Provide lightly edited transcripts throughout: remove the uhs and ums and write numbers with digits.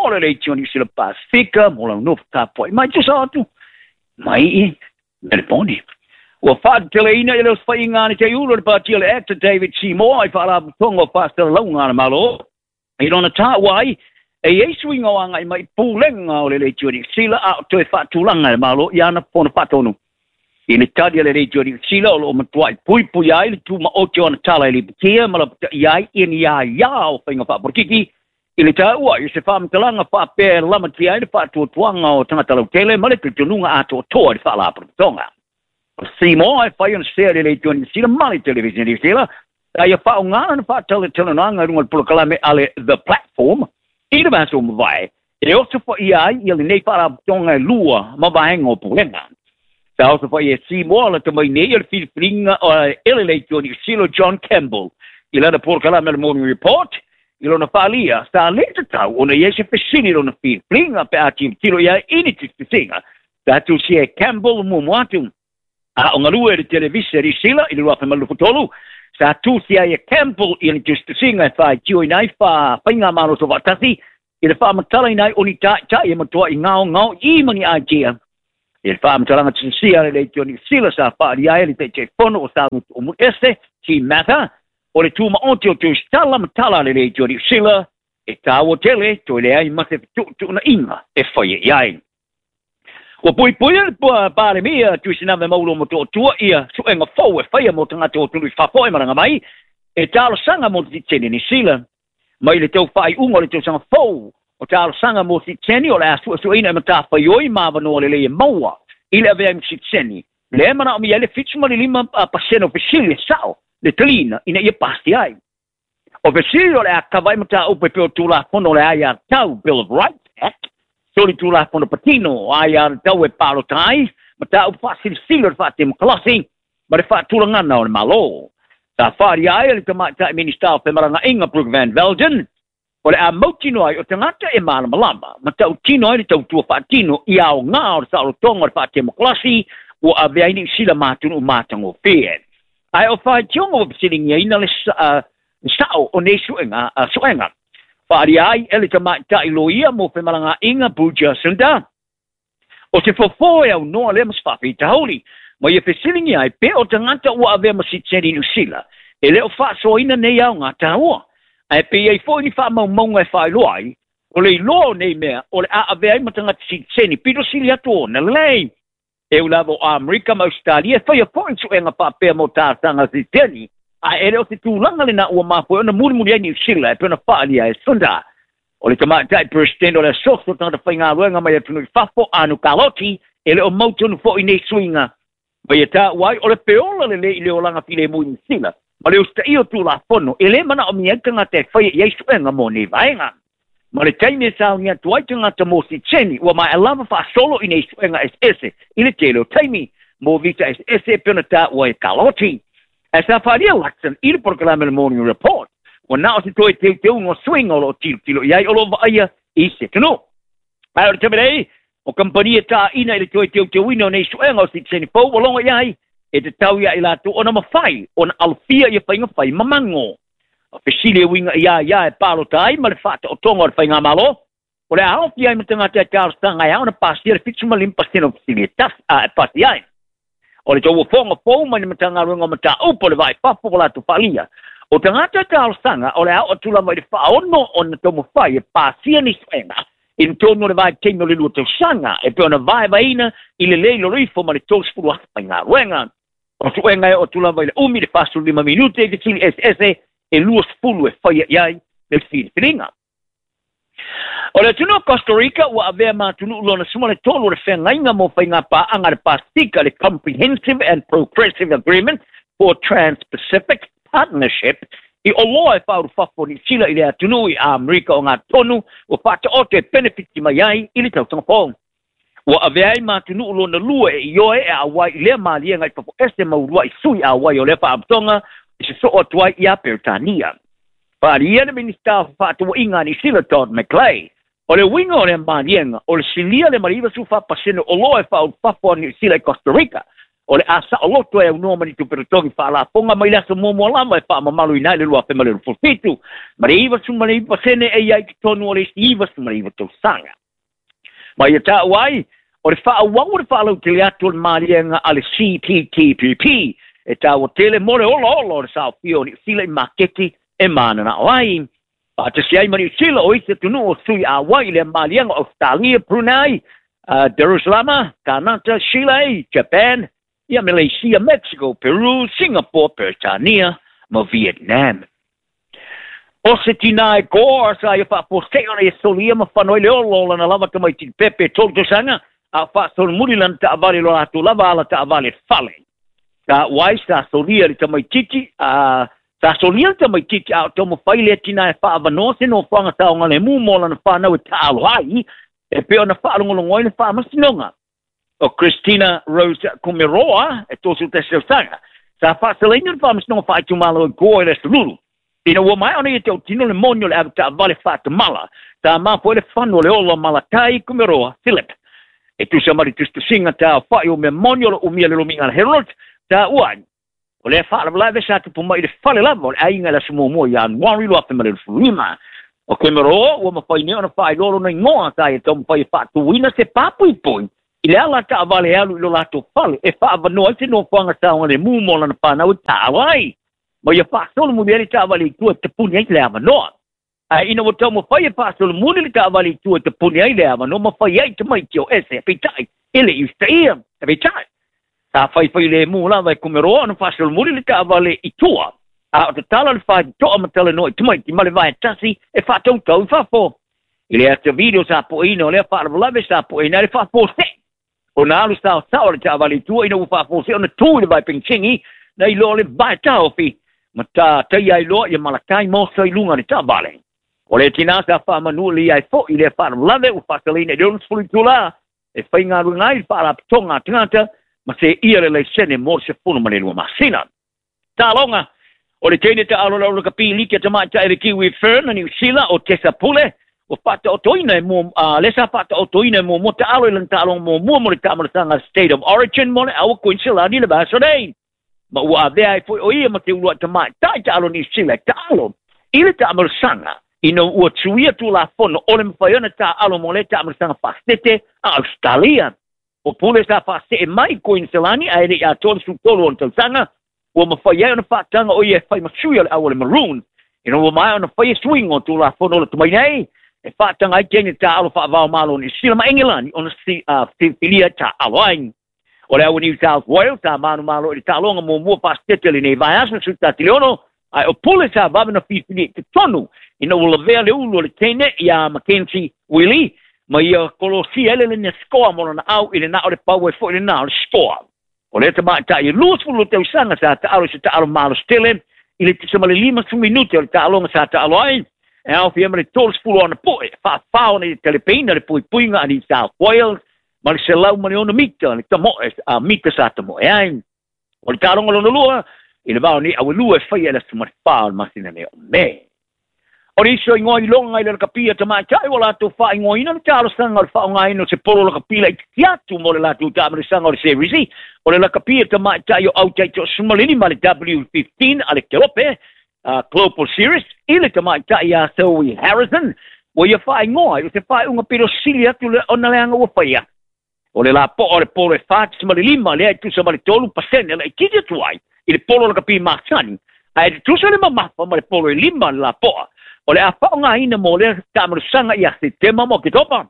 mo le Leitio Niu Sila Pasifika mo lau nofo tapuai mai tusa atu mai i Melebone. Ua faateteleina i le osofaiga a le teiulo o le Pati o le Actor David Seymour i Faalapotopotoga o Faasalalauga a le Malo i lona taua ai e i ai suiga o agai mai i pulega o le Leitio Niu Sila a o toe faatulaga e le Malo i ana fono faatonu. I le tali a le Leitio Niu Sila o lo o matuai puipuia ai le tumaoti o ana tala e lipotia ma lapataia ai i ni aia o faiga faapolokiki i le taua ai o se faamatalaga faapea e lamatia ai le faatuatuaga o tagata lautele ma le talitonuga atoatoa i le Faalapotopotoga. O Seymour e fai ona sea i le Leitio Niu Sila ma le Televisene Niu Sila, a ia faaaoga lana faatalatalanoaga i luga o le polokalame a le The Platform i le vaiaso ua mavae, e osofaia ai ia lenei faalapotopotoga e lua ma vaega o pulega. Sa osofaia e Seymour lata mai nei o le filifiliga e le Leitio Niu Sila John Campbell i lana polokalame a le Morning Report. I lona faaalia, sa le tatau ona i ai se fesili i lona filifiliga pe a tilotilo i ai i ni tusitusiga. Sa tusia e Campbell muamua atu a o galue i le televise a Niu Sila i le 2023, sa tusia ai e Campbell ia ni tusitusiga e faitioina ai faigamalo soofaatasi i le faamatalaina ai o ni taitai e matuai gaogao i ma ni aitia. I le faamatalaga tusisia a le Leitio Niu Sila sa faaalia ai e le Taitaifono o Samutu o Muliese, Tim Mather, o le tumaoti o Tusitala ma tala a le Leitio Niu Sila e taua tele toe leai ma se fetuutuunaiga e faia i ai. Ua puipuia le Palemia Tuisinave Maulo Motootua ia suega fou e faia mo tagata o atunuu i fafo e malaga mai e talosaga mo sitiseni Niu Sila. Mai le tau faaiuga o le tausaga fou o talosaga mo sitiseni o le a suesueina e matafaioi ma avanoa lelei e maua i le avea ai ma sitiseni, lea e manaomia ai le 75% o fesili e sao le taliina ina ia pasia ai. O fesili o le a kava ai mataupu e pei o Tulafono o le Aiatatau, Bill of Rights Act, Solitulafono patino o aiatatau e palota ai, mataupu faasilisili o le faatemokalasi ma le faatulagana o le Malo. Sa faaalia ai e le Tamaitai Minisita o Femalagaaiga Brooke Van Velden, o le a mautinoa ai o tagata e malamalama ma tautino ai le tautua faatino i aoga o le saolotoga o le faatemokalasi ua avea ai Niu Sila ma atunuu matagofie. Ae o faitioga ua fesiligiaina le sao o nei suega. Faaalia ai e le tamaitai loia mo femalagaaiga Pooja Sundar, o se fofo e aunoa lea ma se faafitauli, ma ia fesiligia ai pe o tagata ua avea ma sitiseni Niu Sila e le o faasoaina nei aoga taua. Ae pe i ai foi ni faamaumauga e faailoa ai, o le iloa o nei mea o le a avea ai ma tagata sitiseni pito sili atu ona lelei. E ui lava o Amerika ma Ausetalia e faia foi suega faapea mo talosaga sitiseni, ae e le o se tulaga lena ua mafua ai ona mulimuli ai Niu Sila e pei ona faaalia e Sundar. O le tamaitai Peresetene o le Asosi o Tagata Faigaluega mai atunuu i fafo, Anu Kaloti, e le o mautonu foi nei suiga ma ia taua ai o le feola lelei i le olaga filemu i Niu Sila ma le usitaia o Tulafono e le manaomia ai tagata e faia i ai suega mo nei vaega. Ma le taimi e sauni atu ai tagata mo sitiseni, ua maea lava faasolo i nei suega eseese i le tele o taimi mo visa eseese e pei ona taua e Kaloti. Ae sa faaalia Luxon i le polokalame o le Morning Report, ua na o se toe teuteuga o suiga o lo o tilotilo i ai o lo o vaaia i se atunuu. Ae o le taimi nei, o kamupani e taina i le toe teuteuina o nei suega o sitiseni fou ua logo i ai, e tatau ia i latou ona mafai ona alofia ia faiga fai mamago. O fesili e uiga i a ia e palota ai ma le faataotoga o le faigamalo, o le a aofia ai ma tagata e talosaga e ao ona pasia le 75% o fesili e tasi a e pasi ai. O le tauofoga fou mai le Matagaluega o Mataupu o le Vaa i Fafo ua latou faaalia, o tagata e talosaga o le a oo atu lava i le faaono ona taumafai e pasia ni suega i totonu o le vaitaimi o le 2 tausaga e pei ona vaevaeina i le le i lalo ifo ma le 30,000 faigaluega. O suega e oo atu lava i le umi le 45 minute i fesili eseese e 20 e faia i ai le filifiliga. O le atunuu o Costa Rica ua avea ma atunuu lona 13 o le feagaiga mo faiga paaga a le Pasifika, le Comprehensive and Progressive Agreement for Trans-Pacific Partnership, i oloa e faaulufafo o Niu Sila i le atunuu i Amerika o ngā tonu ua faataoto e penefiti mai ai i le tausaga fou. Ua avea ai ma atunuu lona lua e ioe e auai i lea maliega i fafo ese ma uluai sui auai o lea faalapotopotoga i sosoo atu ai iā Peretania. Faaalia le Minisita o Fefaatauaiga a Niu Sila Todd McClay, o le uiga o lea maliega o le silia le ma le 94% o oloa e faaulufafo a Niu Sila i Costa Rica. O le a saoloto e aunoa ma ni tupe totogi faalafoga mai le aso muamua lava e faamamaluina ai le 2027, ma le 99% e i ai totonu o le isi 99 tausaga. Ma ia taua ai, o le faaauau o le faalautele atu o le maliega a le CPTPP e taua tele mo le olaola o le saofia o Niu Sila i maketi e mananao ai. Faatasi ai ma Niu Sila o isi atunuu o sui auai i lea maliega o Ausetalia, Brunei, Jerusalema, Kanata, Chile, Japan, ia Malaysia, Mexico, Peru, Singapore, Peretania ma Vietnam. O se tinā e Gore sa ia faafoseʻe ona ia solia ma fano ai le olo o lana lava tamaititi pepe e 3 tausaga, a o faasolomuli lana taavale i lo latou lava ala taavale fale. Taua ai sa solia le tamaititi a sa solia le tamaititi a o taumafai lea tinā e faaavanoa se nofoaga saogalemu mo lana fanau e taalo ai, e pei ona faalogologo ai le faamasinoga. O Christina Rose Kumeroa e 31 tausaga, sa faasalaina le faamasinoga faaitumalo i Gore i le aso Lulu. Ina ua maea ona ia tautino le moni o le avetaavale faatamala, sa mafua ai le fano o le ola o Malakai Kumeroa Philip. E tusa ma le tusitusiga taofa'i o mea moni o lo umia le lomiga a le Herald, taua ai, o lea faalavelave sa tupu mai i le fale lava o le aiga i le aso muamua ia Ianuari 2025. O Kumeroa ua mafai nei ona faailoa lona igoa sa ia taumafai e faatuina se papuipui i le ala taavale e alu i lo latou fale e faaavanoa ai se nofoaga saogalemu mo lana fanau e taalo ai. Ma ia faasolomuli ai le taavale i tua e tapuni ai le avanoa. Ae ina ua taumafai e faasolomuli le taavale i tua e tapuni ai le avanoa ma fai ai tamaiti o ese, peitai, e le i usitaia, peitai. Sa faifai lemu lava e Kumeroa ona faasolomuli le taavale i tua, a o tatala le faitotoa ma talanoa i tamaiti ma le vae tasi e faatautau i fafo. I le ata video sa poeina o lea faalavelave sa poeina ai le faafoseʻe ona alu saosao le taavale i tua ina ua faafoseʻe ona tu i le vae penisigi na iloa o le vae taofi ma taia ai loa ia Malakai Mosa i luga o le taavale. O le tinā sa faamanu le ia ai foʻi i lea faalavelave ua faasalaina i le 60 itulā e faigaluega ai le faalapotoga a tagata ma seia le laisene mo le 12 masina. Taaloga, o le teine taalo le lakapi liki a tamaitai le Kiwi Fern a Niu Sila o Tessa Pule, ua faataotoina e mo, lea sa faataotoina e muamua taalo i lana taaloga muamua mo le taamalasaga State of Origin mo le aua Kuiniselani le vaiaso nei. Ma ua avea ai foi o ia ma te uluai tamaitai taalo Niu Sila e taalo i le taamalasaga ina ua tuia tulafono o le mafai ona taalo mo lea taamalasaga faasete a Australia. O Pule sa faasee mai i Kuiniselani ae le i atoa le 13 ona tausaga, ua mafai ai ona faataga o ia e fai ma sui o le au o le Maroon. Ina ua maea ona fai e suiga o tulafono o le tomai nei, e faataga ai teine taalo faavao malo o Niu Sila ma Engelani ona filifilia taalo ai. O le au o New South Wales sa manumalo i le taaloga muamua faasete lenei vaiaso 16, ae o Pule sa vave na filifilia i totonu ina ua lavea le ulu o le teine iā Mackenzie Willie ma ia kolosia ai le lenia scoa mo lana au i le na o le pau ai foi le na o le scoa. O lea tamaitai e 22 tausaga sa taalo i se taalo malosi tele i le tusa ma le 50 minute o le taaloga sa taalo ai, e aofia ma le 30 ona poe faafao nei talepeina le puipuiga a New South Wales ma le 106 mita le tamoe a mita sa tamoe ai. O le taaloga lona lua i le vao nei auelua e faia i le aso ma le 4 o le masina nei o Me. O le isi o igoa iloga i le lakapi a tamaitai ua latou faaigoaina le talosaga o le faaaogaina o se polo lakapi laitiiti atu mo le latou taamalasaga o le Series, o le lakapi a tamaitai o au taitoasemalima le W15 a le Kelope Global Series i le tamaitai ia Zoe Harrison, ua ia faaigoa ai o se faaiuga pito sili atu le ona leaga ua faia. O le lapoa o le polo e 4.5 lea e tusa ma le 3% laitiiti atu ai i le polo lakapi masani, ae tutusa le mamafa ma le polo e 5 le lapoa. O le a faaaogaina mo lea taamalasaga ia Setema ma Oketopa.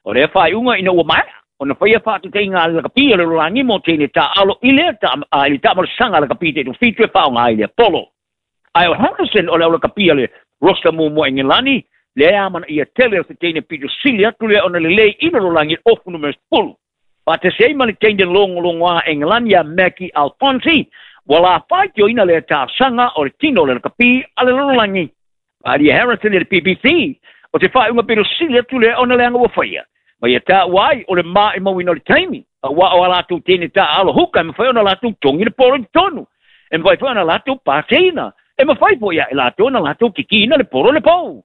O lea faaiuga ina ua maea ona faia faatautaiga a le lakapi o le lalolagi mo teine taalo i le taamalasaga a lakapi taitofitu e faaaoga ai lea polo. Ae o Harrison o le au lakapi a le roster muamua Engelani, lea amanaia tele o se teine pito sili atu lea ona lelei i le lalolagi ofu numera 10. Faatasi ai ma le teine logologoa Engelani ia Maggie Alphonsi, ua lafaitioina lea talosaga o le tino o le lakapi a le lalolagi. Alia Harrison i le BBC, o se faaiuga pito sili atu lea ona leaga ua faia. Ma ia taua ai o le maimauina o le taimi, aua o a latou teine taaalo huka e mafai ona latou togi le polo i totonu. E mafai foi ona latou paseina. E mafai foi ia e latou ona latou kikiina le polo le pou.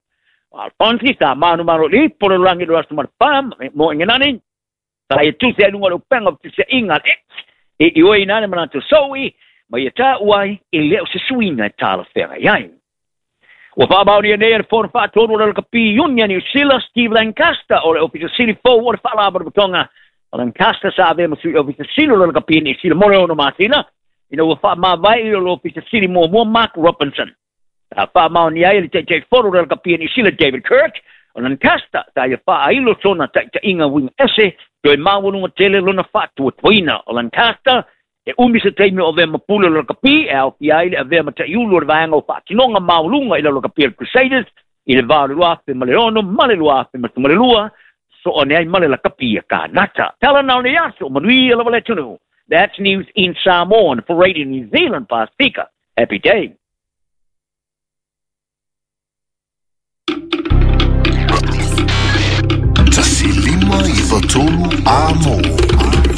Alphonsi sa manumalo i polo langi le aso ma le pā mo Engelani. Sa ia tusi ai lunga o le upega o tusiaiga a le X E ioeina ai le manatu soui ma ia taua ai e le o se suiga e talafeagai ai. Ua faamaonia nei e le Fono Faatonu o le Lakapi Union Niu Sila Steve Lancaster o le Ofisa Sili fou o le Faalapotopotoga. O Lancaster sa avea ma sui Ofisa Sili o le Lakapi Niu Sila mo le 6 masina ina ua faamavae i le Ofisa Sili muamua Mark Robinson. Sa faamaonia ai e le Taitaifono o le Lakapi Niu Sila David Kirk o Lancaster sa ia faailo sona taitaiga uiga ese toe maualuga tele lona faatuatuaina. O Lancaster e umi se taimi o avea ma pule o le lakapi e aofia ai le avea ma taiulu o le vaega o faatinoga maualuga i le lakapi o le Crusaders i le va o le 2006 ma le 2012, soane ai ma le lakapi a Kanata. Tala na o le aso, manuia lava le atunuu. That's news in Samoan for Radio New Zealand Pasifika. Happy day. 1 5 9 3 Amo.